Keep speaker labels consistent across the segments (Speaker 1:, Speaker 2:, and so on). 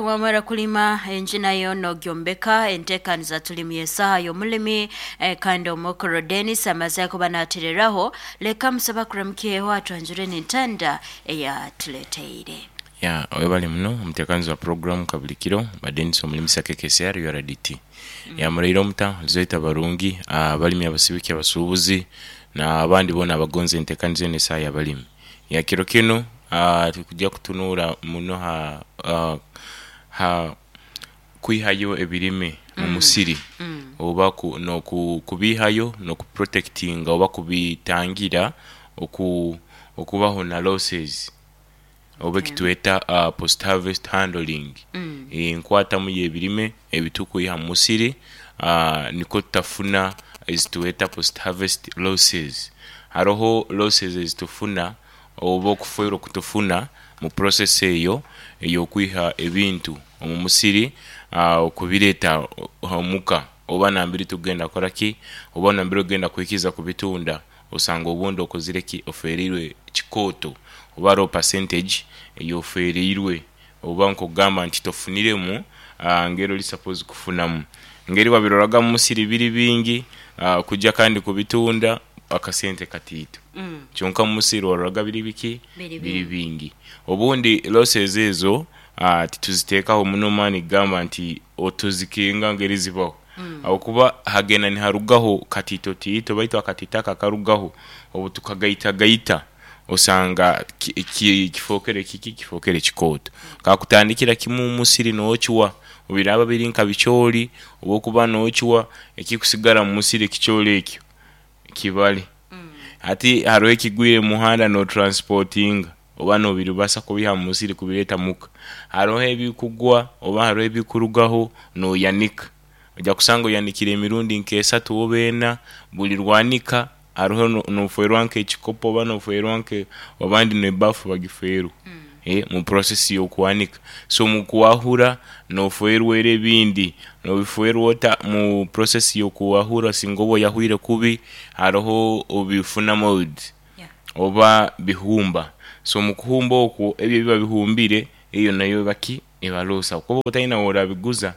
Speaker 1: Wamara kulima enju nayo nogyombeka. Entekaniza tulimu y'esaha y'omulimi, kandi omukuru Denis amaze kuba natereraho. Leka musaba kuramukyeho atwanjure n'entanda eyatuleteire.
Speaker 2: Ya webale muno omutekanizi wa puroguramu Kabulikiro ba Denis Omulimisa KKCR URDT. Ya muraire omuta lizoita abarungi, abalimi, abasibiki, abasubuzi na abandi bona abagonza entekaniza eno esaha yabalimi. Ya kiro kinu tukuja kutunura muno ha ha kwihayo ebirime mu musiri oba nokubihayo noku protectinga oba kubitangira okubaho na losses oba ekitweta post harvest handling, enkwatamu yebirime ebitukwiha mu musiri nikwo tutafuna ezitweta post harvest losses. Haroho losses ezitufuna oba okufeerwa okutufuna mu process eyo ey'okwiha ebintu omu musiri okubireeta omuka oba nambere tugenda kukora ki, oba nambere ogenda kuhikiza kubitunda osanga obundi okozire ki, ofeereirwe kikooto oba haroho percentage ei ofeereirwe oba nk'okugamba nti tofuniremu ngeri ori supposed kufunamu. Ngeri wabiroraga omu musiri biri bingi, kuja kandi kubitunda akasente kataito. Kyonka omu musiri waroraga biri biki? Biri bingi. Obundi losses ezo tituziteekaho muno maani kugamba nti otuzikenga ngeri zibaho. Ahabw'okuba hagenda niharugaho kataitotaito baitu akataito ako akarugaho obu tukagaitagaita osanga kifookere kiki? Kifookere kikooto. Kakutandikira kimwe omu musiri n'ocwa, biraaba biri nka bicoori oba okuba n'ocwa, ekikusigara omu musiri ekicoori ekyo kibare. Hati hariho ekigwire omu muhanda n'otransipotinga oba n'obiribasa kubiiha omu musiri kubireeta muka. Hariho ebikugwa oba hariho ebikurugaho n'oyanika. Oija kusanga oyanikire emirundi nk'esatu oba ena, buli lwanika hariho nofeerwa nk'ekikopo oba nofeerwa nke abandi n'ebaafu bagifeerwa mu process y'okwanika. So mu kwahura nofeerwa era ebindi, nobifeerwa ota mu process y'okwahura singa oba oyahwire kubi hariho obifuna mould oba bihumba. So mu kuhumba okwo ebyo ebiba bihumbire eyo nayo eba ki? Eba loss ahabw'okuba oba otaine w'orabiguza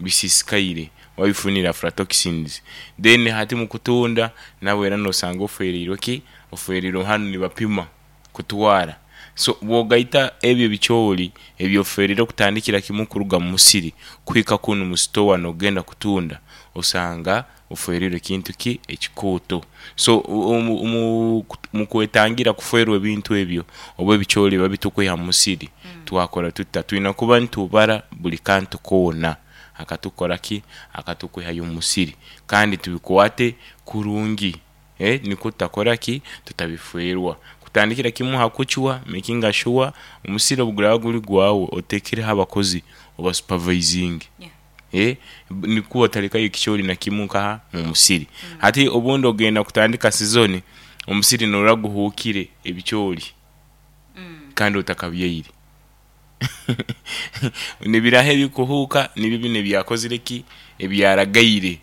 Speaker 2: bisisikaire wabifunire aflatoxins. Then hati mu kutunda nabwo era nosanga ofeereirwe ki? Ofeereirwe hanu nibapima kutwara. So bw'ogaita ebyo ebicoori eby'ofeereire okutandikira kimwe kuruga mu musiri kuhika kunu mu sitowa n'ogenda kutunda, osanga ofeereirwe kintu ki? Ekikooto. So mu kwetangira kufeerwa ebintu ebyo oba ebicoori ebiba bitukwiha mu musiri, twakora tuta? Twine kuba nitubara buri kantu koona akatukora ki? Akatukwihayo omu musiri kandi tubikwate kurungi. Nikwo tutakora ki? Tutabifeerwa. Kutandikira kimwe aha kucwa, makinga shuwa omusiri obu guraba guri gwawe oteekireho abakozi obasupavaizinge. Nikwo otarekayo ekicoori na kimwe nkaha mu musiri. Hati obundi ogenda kutandika sizoni, omusiri noorora guhuukire ebicoori kandi otakabyaire. Nibiraha ebikuhuuka nibyo binu ebyakozire ki? Ebyaragaire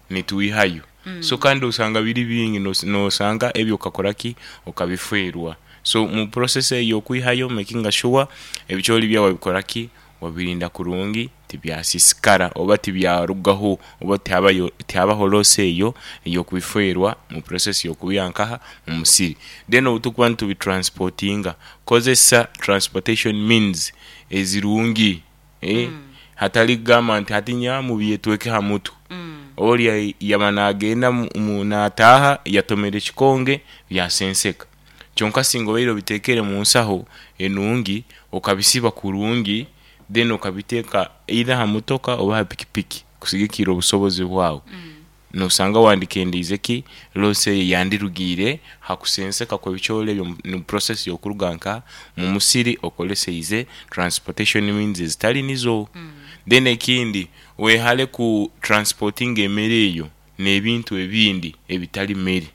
Speaker 2: nitwihayo. So kandi osanga biri bingi nosanga ebyo okakora ki? Okabifeerwa. So mu process eyo ey'okwihayo makinga sure ebicoori byawe wabikora ki? Wabirinda kurungi tibyasisikara oba tibyarugaho oba tihabaho loss eyo ey'okubifeerwa mu process y'okubiiha nkaha? Mu musiri. Then obutukuba nitubitransportinga, kozesa transportation means ezirungi hatari kugamba nti hati nyowe mubyetweke ha mutwe. Orya yaba nagenda nataaha yatomera ekikonge byasenseka. Kyonka singa obaire obitekere mu nsaho enungi okabisiba kurungi then okabiteeka either aha motoka oba aha pikipiki kusigikirra obusobozi bwawe. Nosanga wandikendeize ki loss eyo eyandirugiire ha kusenseka kw'ebicoori ebyo mu process y'okuruga nka mu musiri okoreseize transportation means ezitari nizo. Then ekindi wehare ku transportinga emere eyo n'ebintu ebindi ebitari mere.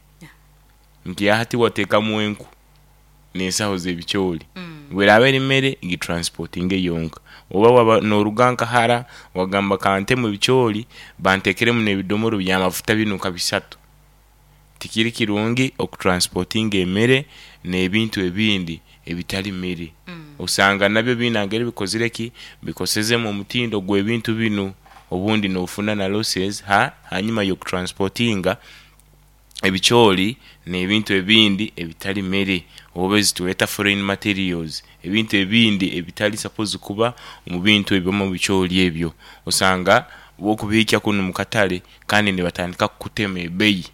Speaker 2: Nti hati wateekamu enku n'ensaho z'ebicoori, bw'eraaba eri mere gitransportinge yonka. Oba waaba nooruga nka hara wagamba kantemu ebicoori banteekeremu n'ebidomoro by'amafuta binu nka bisatu. Tikiri kirungi okutransportinga emere n'ebintu ebindi. ebitari mere. Osanga nabyo biine engeri bikozire ki? Bikosezemu omutindo gw'ebintu binu. Obundi nofuna na losses ha hanyima y'okutransportinga ebicoori n'ebintu ebindi ebitari mere oba ezitweta foreign materials, ebintu ebindi ebitari supposed kuba omu bintu ebyo oba omu bicoori ebyo. Osanga bwokubihikya kunu mu katare kandi nibatandika kukutema ebeyi.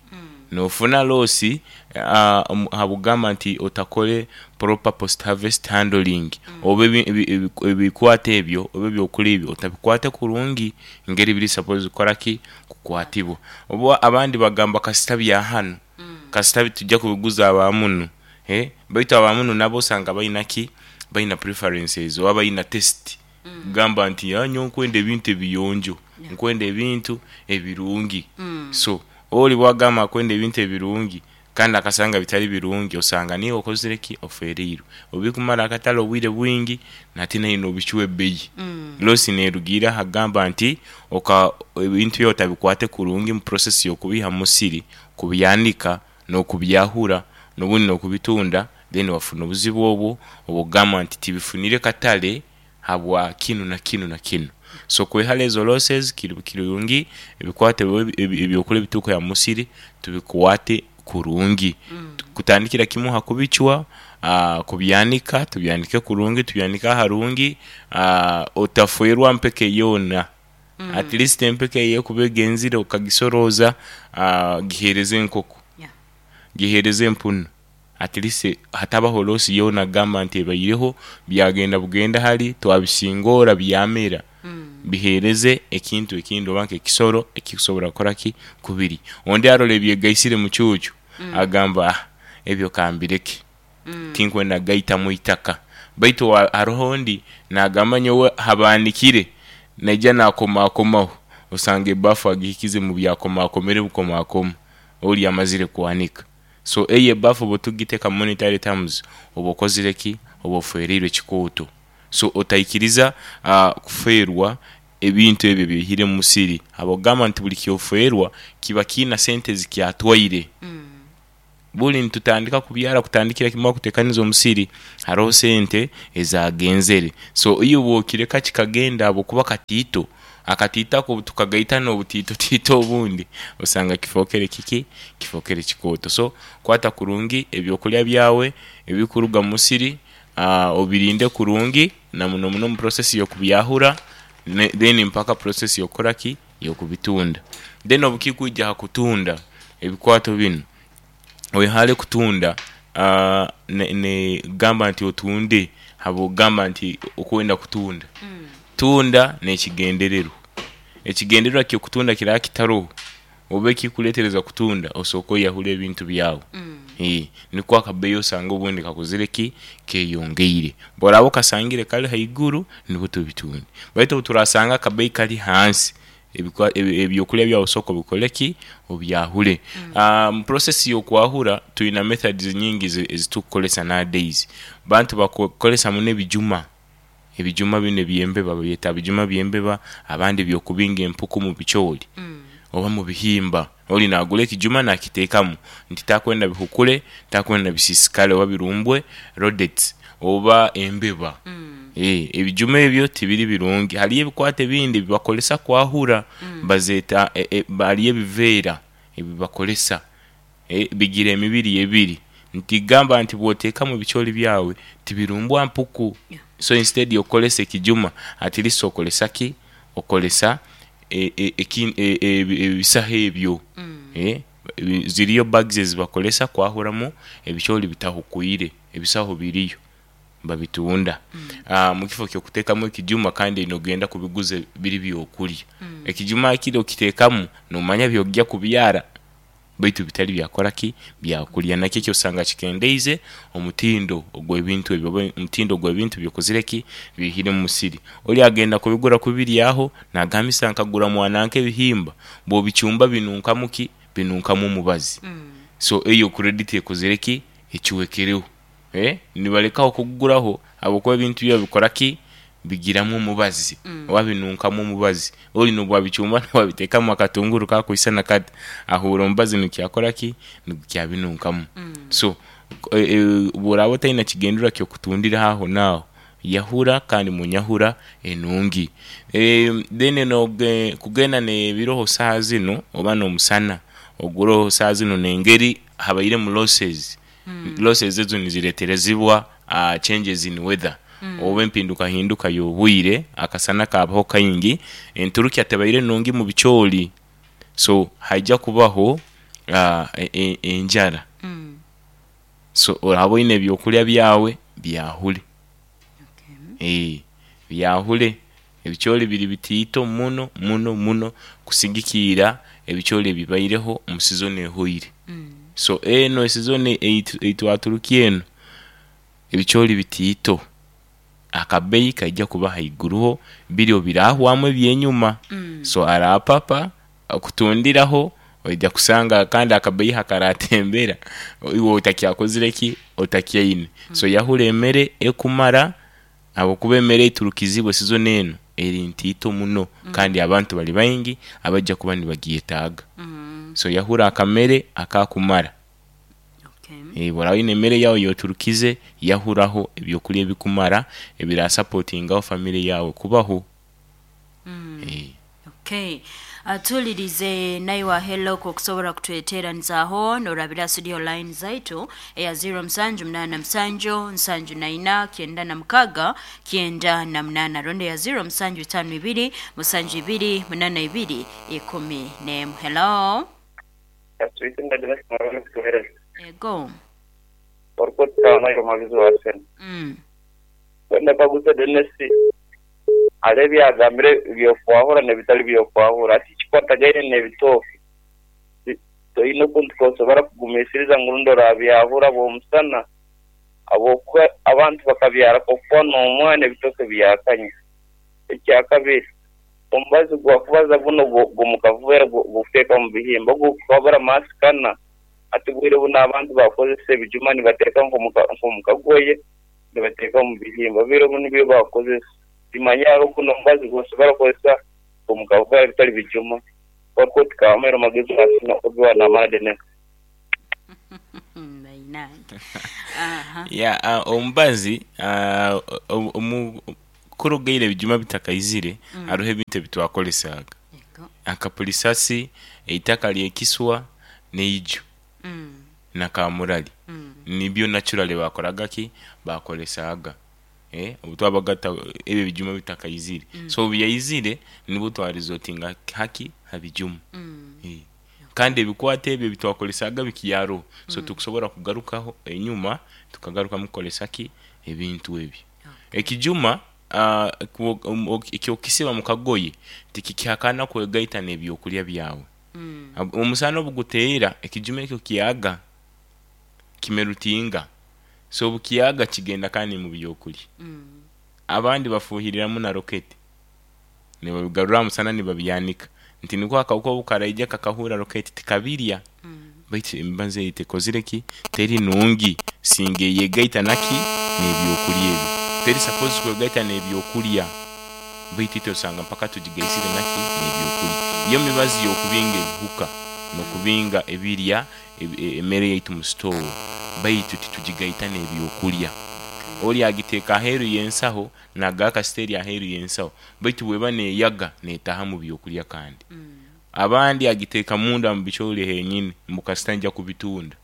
Speaker 2: Nofuna loosi ahabw'okugamba nti otakore proper post harvest handling oba ebikwato ebyo oba ebyokurya ebyo otabikwate kurungi ngeri biri supposed kukora ki? Kukwatibwa. Oba abandi bagamba kasita bya hanu, kasita tituja kubiguza aba munu baitu aba munu nabo osanga baina ki? Baina preferences oba baina taste Gamba nti, Nyowe nkwenda ebintu ebiyonjo, nkwenda ebintu ebirungi. So, oli bwagamba akwenda ebintu ebirungi kandi akasanga bitali birungi, osanga niiwe okozire ki? Ofeereirwe. Obikumara akatale obwire bwingi, nate naine nobicwa ebbeyi. Losi nerugiira aha kugamba nti oka ebintu byawe otabikwate kurungi mu process y'okubiiha mu musiri, kubyanika, n'okubyahura, n'obundi n'okubitunda, then wafuna obuzibu obwo obw'okugamba nti tibifunire katale habwa kinu na kinu na kinu. So kwehara ezo losses kiri kirungi ebikwate ebyokurya ebiturukuha mu musiri tubikwate kurungi. Kutandikira kimwe aha kubicwa, kubyanika, tubyanike kurungi, tubyanike aharungi, otafwerwa mpeke yoona. At least empeke eyo ekuba egenzire okagisorooza, giheereze enkoko, giheereze empunu. At least hatabaho loss yoona kugamba nti ebaireho, byagenda bugenda hari, twabisingoora byamera. Biheereze ekintu ekindi oba nk'ekisoro ekikusobora kukora ki? Kubirya. Ondi arora ebyegaisire mucuucu, agamba ah ebyo kambireke. Tinkwenda kugaitamu itaka. Baitu haroho ondi nagamba nyowe habaanikire naija nakomakomaho, osanga ebaafu agihikize mu byakomakomere bukomakoma, ori amazire kwanika. So eyo ebaafu bwotugiteka mu monetary terms oba okozire ki? Oba ofwereirwe kikooto. So otaikiriza kufeerwa ebintu ebyo ebyoihire mu musiri habwokugamba nti buli kyofeerwa kiba kiina sente ezikyatwaire. Buri nitutandika kubyara kutandikira kimwe kutekaniza omusiri haroho sente ezagenzere. So iwe bwokireka kikagenda ahabwokuba katiito, akatiito ako obutukagaita nobutiitotiito obundi osanga kifokere kiki? Kifokere kikooto. So kwata kurungi ebyokurya byawe ebikuruga mumusiri obirinde kurungi namuno muno omu process yokubyahura then mpaka process yokukora ki? Y'okubitunda. Then obukikwija ha kutunda ebikwato binu, wehale kutunda gamba nti otunde habw'okugamba nti okwenda kutunda. Tunda n'ekigendererwa. Ekigendererwa ky'okutunda kiraba kitaroho, oba ekikuletereza kutunda, osooke oyahure ebintu byawe. Nikwo akabeeyi osanga obundi kakozire ki? Keyongeire. Bworaba okasangire kali haiguru, nibwo tubitunde. Baitu obuturasanga akabeeyi kali hansi, ebyokurya byawe sooka obikore ki? Obyahure. Mu process y'okwahura, twina methods nyingi ezitukukoresa nowadays. Bantu bakukoresa muno ebijuma. Ebijuma binu eby'embeba babyeta bijuma by'embeba, abandi by'okubinga empuku mu bicoori oba mu bihimba. Ori naagura ekijuma naakiteekamu nti takwenda bihukure, takwenda bisiisikare oba birumbwe rodents oba embeba. Ebijuma ebyo tibiri birungi. Hariyo ebikwato ebindi ebi bakoresa kwahura, bazeeta hariyo ebiveera ebi bakoresa. Bigira emibiri ebiri. Nti gamba nti bwotekamu ebicoori byawe tibirumbwa mpuku. So instead yokukoresa ekijuma at least okoresa ki? Okoresa ebisaho ebyo. Ziriyo bags ezibakoresa kwahuramu ebicoori bitahukwire, ebisaho biriyo babitunda. Mukifo kyokutekamu ekijuma kandi nogenda kubiguza biri byokurya. Ekijuma hakiri okitekamu nomanya byogya kubyara. Baitu bitari byakora ki? Byakurya. Nakyo ekyo osanga kikendeize omutindo ogw'ebintu ebyo oba omutindo ogw'ebintu by'okozire ki? Byoihire mu musiri. Ori agenda kubigura kubiryaho, naagambisa nkagura mwananka ebihimba, bw'obicumba binunkamu ki? Binunkamu omubazi. So eyo credit ekozire ki? Ecwekereho. Nibalekaho kuguguraho ahabw'okuba ebintu byabo bikora ki? Bigiramu omubazi oba binunkamu omubazi. Ori n'obu wabicumba n'obu wabiteekamu akatunguru kakwisana kati, ahuura omubazi nigukyakora ki? Nigukyabinunkamu. So, Bw'oraaba otaine kigendererwa ky'okutundira aho naaho, yahura kandi mu nyahura enungi. Then kugenda n'ebiroho saaha zinu oba n'omusana oguroho saaha zinu n'engeri habairemu losses, losses ezo nizireterezibwa changes in weather oba empindukahinduka y'obwire, akasana kaabaho kaingi, enturukya tebaire nungi mu bicoori so haija kubaho enjara. So oraba oine ebyokurya byawe byahure, byahure. Ebicoori biri bitiito muno muno muno kusigikiira ebicoori ebibaireho omu sizoni ehweire. So eno esizoni ei twaturukia eno, ebicoori bitiito. Akabeeyi kaija kuba haiguruho, biri birahwamu eby'enyuma. So arapapa okutundiraho oija kusanga kandi akabeeyi hakaratembera iwe otakyakozire ki? Otakyaine. So yahura emere ekumara ahabw'okuba emere eiturukizibwe sizoni enu eri ntiito muno kandi abantu bari baingi abaija kuba nibagyetaaga. So yahura akamere akakumara. Bw'oraba oine emere yaawe ey'oturukize, yahuraho eby'okurya ebikumara ebirasapotingaho famire yaawe kubaho.
Speaker 1: Okay. Atuulirize naiwe hello okusobora kutweteranizaaho norabira studio line zaitu eya 0787 74 96 98 rundi eya 0752 72 82 11. Hello. Ego.
Speaker 3: Ndakaguza Dennis hariho ebi yagambire eby'okwahura n'ebitari by'okwahura. Hati ekikwatagaine n'ebitooke, toine okuntu k'osobora kugumiisiriza ngu rundi orabyahura habw'omusana habw'okuba abantu bakabyara kokuba n'omwana ebitooke byakanya. Ekyakabiri, omubazi gwakubaza gunu ogw'omu kaveera ogw'okuteeka omu bihimba ogu gukabura maasikana. Hati obwire bunu abantu bakozesa ebijuma nibateeka nk'omu kagoye. Nibateeka omu bihimba biro binu nibyo bakukozesa. Timanya hariho guno omubazi gw'osobora kukozesa omu kahuka ebitali bijuma. Kwonka oti kamere magezi asina obiwa namara Dennis.
Speaker 2: Yeah, omubazi omu kuruga ira ebijuma bitakaizire hariho ebintu ebitwakoresaaga. Akapurisasi, eitaka ly'ekiswa, n'eiju. na kamurari nibyo naturally bakoraga ki? Bakoresaaga obu twabaga ebyo ebijuma bitakaizire. So obu byaizire nibwo twa resortinga haki? Ha bijuma. Kandi ebikwato ebyo ebitwakoresaaga bikyaroho, so tikusobora kugarukaho enyuma tukagarukamu kukoresa ki? Ebintu ebyo. Ekijuma eky'okukisiba mu kagoye tikikihakana kwegaita n'ebyokurya byawe. Omusana obu guteera, ekijuma ekyo kyaga, kimerutinga. So obu kyaga kigenda kandi mu byokulya. Abandi bafuuhiriramu na roketi, nibabigarura aha musana nibabyanika nti nikwo akahuka obu karaija kakahuura roketi tikabirya. Baitu emibazi eyo tekozire ki? Teri nungi singa eyegaita na ki? N'ebyokulya ebyo. Teri supposed kwegaita n'ebyokulya. Baitu itwe osanga mpaka tugigaisire na ki? N'ebyokulya. Yo mibazi y'okubinga ebihuka n'okubinga ebirya emere yaitu mu sitoowa, baitu titugigaita n'ebyokulya. Oli agiteeka aheeru y'ensaho, naagaha kasita eri aheeru y'ensaho, baitu bw'eba neeyaga neetaaha mu byokulya kandi. Abandi agiteeka munda mu bicoori henyini mbu kasita nja kubitunda.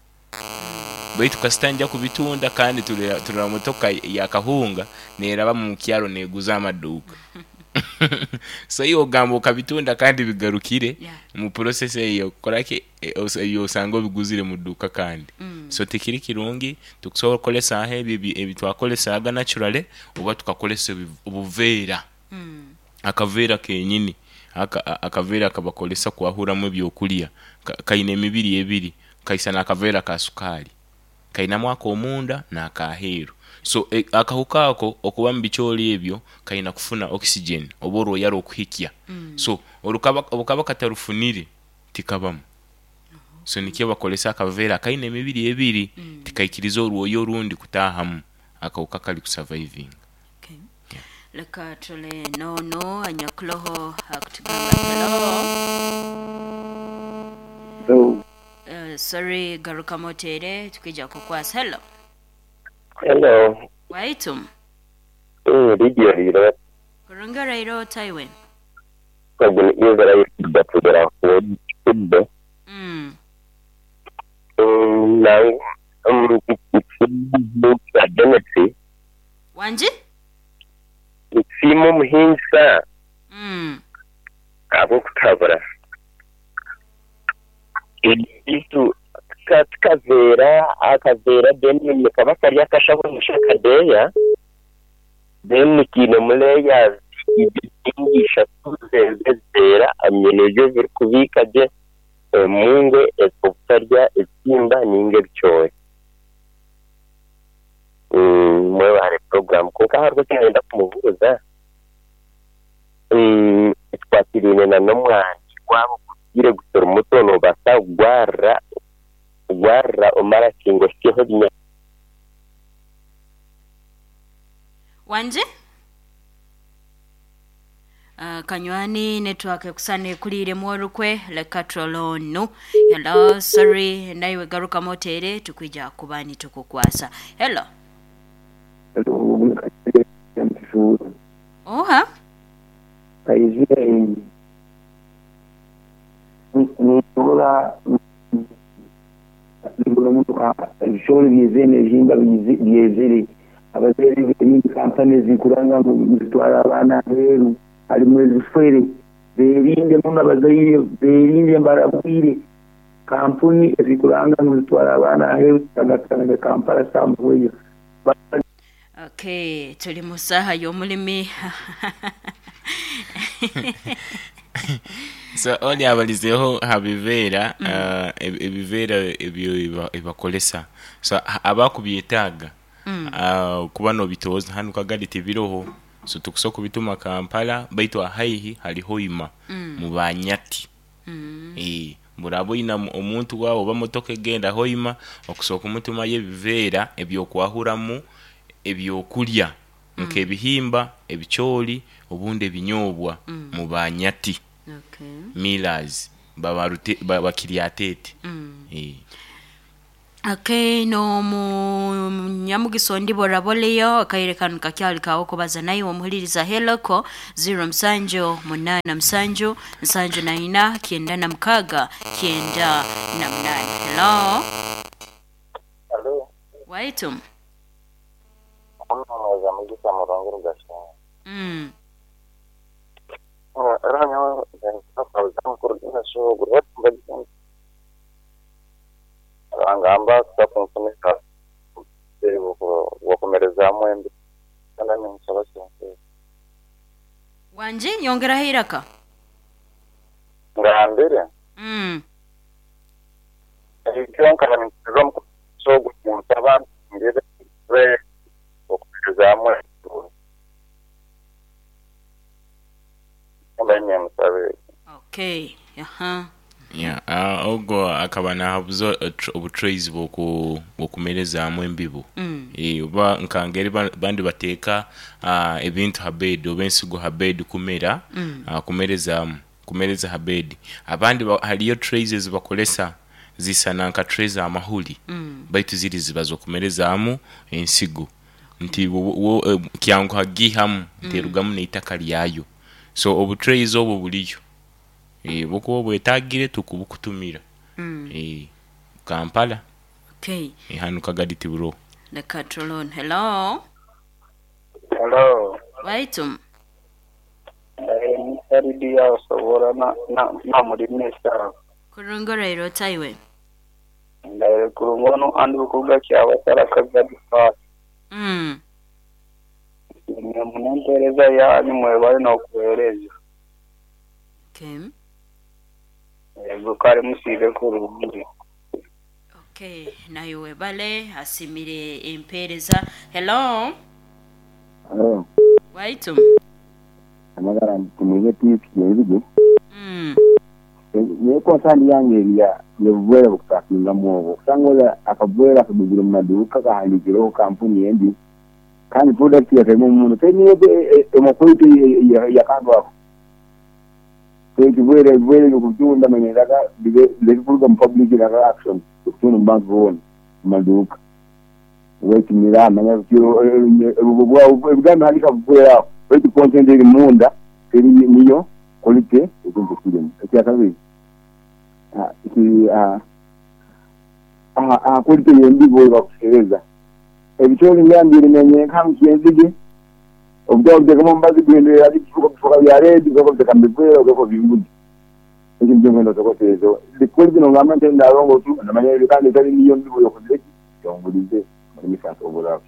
Speaker 2: Baitu kasita nja kubitunda kandi turora motoka ya kahunga neraba mu kyaro neguza amaduuka. So iwe ogamba okabitunda kandi bigarukire mu process eyo yokukora ki? Eyo osanga obiguzire mu duuka kandi. So tikiri kirungi, tukusobora kukoresaaho ebyo ebitwakoresaaga naturally oba tukakoresa obuveera. Akaveera kenyini akaveera akabakoresa kwahuramu ebyokulya kaine emibiri ebiri, kaisana akaveera ka sukaali. Kainamu ak'omunda n'ak'aheeru. So akahuka ako okuba mu bicoori ebyo kaina kufuna oxygen oba orwoya rw'okuhikya. So obukaba katarufunire tikabamu. So nikyo bakoresa akaveera akaine emibiri ebiri, tikaikiriza orwoya orundi kutaahamu akahuka kari kusavaivinga.
Speaker 1: Okay. Leka tule n'onu anyakuloho akutugamba hello.
Speaker 4: Hello.
Speaker 1: Sorry, garukamu oteere tukwija kukwasa. Hello.
Speaker 4: Hello.
Speaker 1: Waitu.
Speaker 4: Radio riro.
Speaker 1: Kurungi oraire ota iwe?
Speaker 4: Ogu ni Israel Batugera Kudde. Nangwa Benefit.
Speaker 1: Wangi?
Speaker 4: Nsiima omuhingisa ahabw'okutuhabura. Beitu tukaveera akaveera then nikaba kari akashaho ngu akadeeya then kiinemu layers ibiri ninga ishatu eziveera nibyo birikubiika gye emungo obutarya ebitimba ninga ebicoori. Mwebare puroguraamu kwonka hariho eki nayenda kumubuuza ekikwatiraine n'omwani waaba ogutwire gukiri muto noobaasa kugwarira omarakinga ohikyeho ebinyaatsi.
Speaker 1: Wangi? Kanywani network ekusana ekuliiremu orukwe leka turole onu. Hello, sorry, naiwe garukamu oteere tukwija kuba nitukukwasa. Hello. Oha?
Speaker 5: Ebishoro byezene ebihimba byezere abazaire b'ebindi kampani ezikuranga ngu zitwara abaana aheeru harimu ezifere berinde muno abazaire berinde mbarabwire kampuni ezikuranga ngu zitwara abaana aheeru tangatanga Kampala Samuweyo.
Speaker 1: Okay, tuli mu saaha y'omulimi.
Speaker 2: So oli abalizeho ha biveera ebiveera ebyo ebibakolesa so abakubyetaaga kuba nobitooza hanu Kagadi tibiroho so tukusobola kubituma Kampala baitu ahaihi hali Hoima mu Banyati. Muraba oyine omuntu waawe oba motoka egenda Hoima okusobola kumutumayo ebiveera ebyokwahuramu ebyokurya nk'ebihimba, ebicoori obundi ebinyoobwa mu Banyati. Millers bakiryatete.
Speaker 1: Okay, n'omunyamugisa ondi boraboleyo akaire kanu kakyali kawo kubaza naiwe omuhuliriza heloko 07 87 74 96 98. Hello.
Speaker 3: Hello.
Speaker 1: Waitu.
Speaker 3: Omweza mugisa murungi rugashinga. Rangamba kusakunfunisa wakomerezaamu embi kandi ninsaba sente.
Speaker 1: Wangi nyongeraho eiraka.
Speaker 3: Ngambire. Ekyo nkaba ninkirira omukuso gunsaba ngire okumerezaamu embi.
Speaker 1: Okay. Aha.
Speaker 2: Yeah, ogwo akaba nahabuza obutrays bw'okumerezaamu embibo. Oba nkangeri bandi bateeka ebintu ha bed oba ensigo ha bed kumera kumerezaamu kumereza ha bed. Abandi hariyo trays ezibakoresa zisana nka tray z'amahuri baitu ziri ziba z'okumerezaamu ensigo nti kyanguha kugiihamu nterugamu n'eitaka ryayo. So obutrays obwo buriyo. Bwokuba obwetagire tukubukutumira. Kampala.
Speaker 1: Okay.
Speaker 2: Hanu Kagadi tiburoho.
Speaker 1: Leka turole. Hello.
Speaker 3: Hello.
Speaker 1: Waitu.
Speaker 3: Ni Saridi osobora na murimesa.
Speaker 1: Kurungi oraire ota iwe?
Speaker 3: Ndaire kurungi onu andi bukuga kyabasara Kagadi fast. Munempereza yanyu mwebale n'okuweereza.
Speaker 1: Okay.
Speaker 3: Yego kare musiibe kurungi.
Speaker 1: Okay, nayo webale asimire empereza. Hello.
Speaker 5: Hello.
Speaker 1: Waitu.
Speaker 5: Amagara ntimuye tiiki Yekonsani yange eriya yebubwera bukusakingamu obwo kusanga ola akabwera akagugire mu maduuka kahandiikireho kampuni endi kandi product yakaimu omuntu teniyo emakwito yakandwako. Ekibwere ebibwere by'okubitunda manya iraka bibe bireke kuruga mu public iraka action okutunda omu bantu boona omu maduuka. Wetumira manya ebigambo bihandiika bubwere aho beitu content eri munda teri niyo quality ekintu ekirimu. Ekyakabiri aha quality y'embibo eyibakuhereza. Ebicoori ngambire nyenka ngu kyenzige obutwa obutekamu omubazi guhindura erangi bifuuka bya red obuteka omu biveera ogaruka obimbuza. Ekyo nikyo nkwenda otokoseezeho. The quality nogamba nti ndarongo otu namanya kandi etari niyo mbibo yokozire ki yongurize omurimisa nsobora.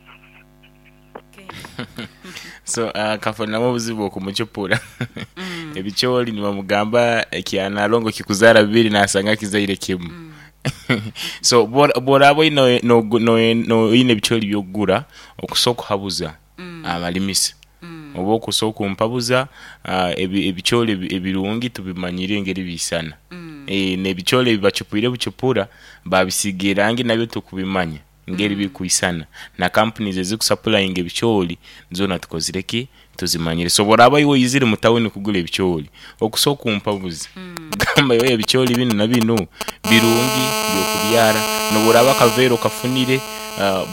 Speaker 2: So akafunamu obuzibu okumucupura ebicoori nibamugamba ekya Nalongo kikuzaara bibiri nasanga kizaire kimu. So bworaba oine oine ebicoori byokugura okusa okuhabuza abarimisa oba okusa okumpabuza ebicoori ebirungi tubimanyire engeri bisana. N'ebicoori ebibacupwire bucupura babisiiga erangi nabyo tukubimanya ngeri bikwisana. Na companies ezikusapurayinga ebicoori zoona tukozire ki? Tuzimanyire. So bworaba iwe oizire mu tawuni kugura ebicoori, okusa okumpabuza gamba iwe ebicoori binu na binu birungi by'okubyara. N'obworaba akaveera okafunire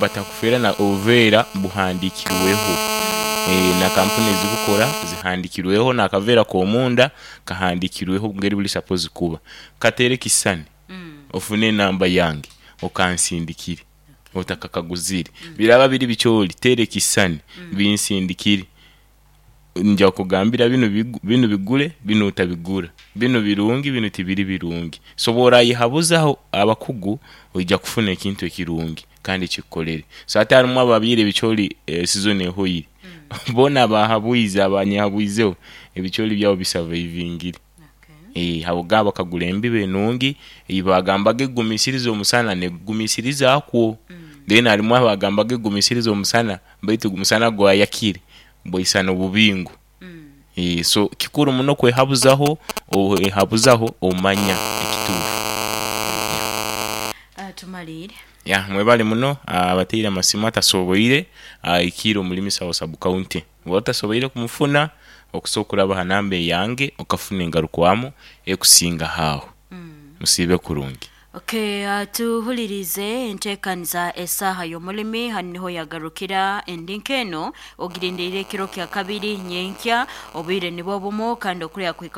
Speaker 2: batakufeera na obuveera buhandikirweho na kampuni ezibukora zihandikirweho n'akaveera k'omunda kahandikirweho ngeri buri sapozi kuba. Kateere ekisisani ofune enamba yange okansindikire otakakaguzire. Biraba biri bicoori teera ekisisani binsindikire nja kukugambira binu bigure binu otabigura, binu birungi binu tibiri birungi. So bw'orayehabuzaho abakugu oija kufuna ekintu ekirungi kandi ekikukorere. So hati harimu ababyaire ebicoori sizoni ehweire boona abahabwize abanyehabwizeho ebicoori byabo bisavaivingire. Ago bakagura embibo enungi ei baagambaga egumisiriza omusana n'egugumisirizaakwo. Then harimu abaagambaga egumisiriza omusana baitu omusana gwayakire bwaisana obubingo. So kikuru muno kwehabuzaho, owehabuzaho omanya ekituufu.
Speaker 1: Tumaliire.
Speaker 2: Ya mwebale muno abateire amasimu atasoboire aikiire omuri Misawo Sub County. Bwoba otasoboire kumufuna, okusa okuraba aha namba eyange okafuna engarukwamu ekusingaho aho. Musiibe kurungi.
Speaker 1: Okay, tuhuliriize entekaniza Esaaha y'Omulimi hanu niho yagarukira endi nk'enu ogirindirire ekiro kya kabiri nyenkya obwire nibwo bumu kandi okurya kuhika.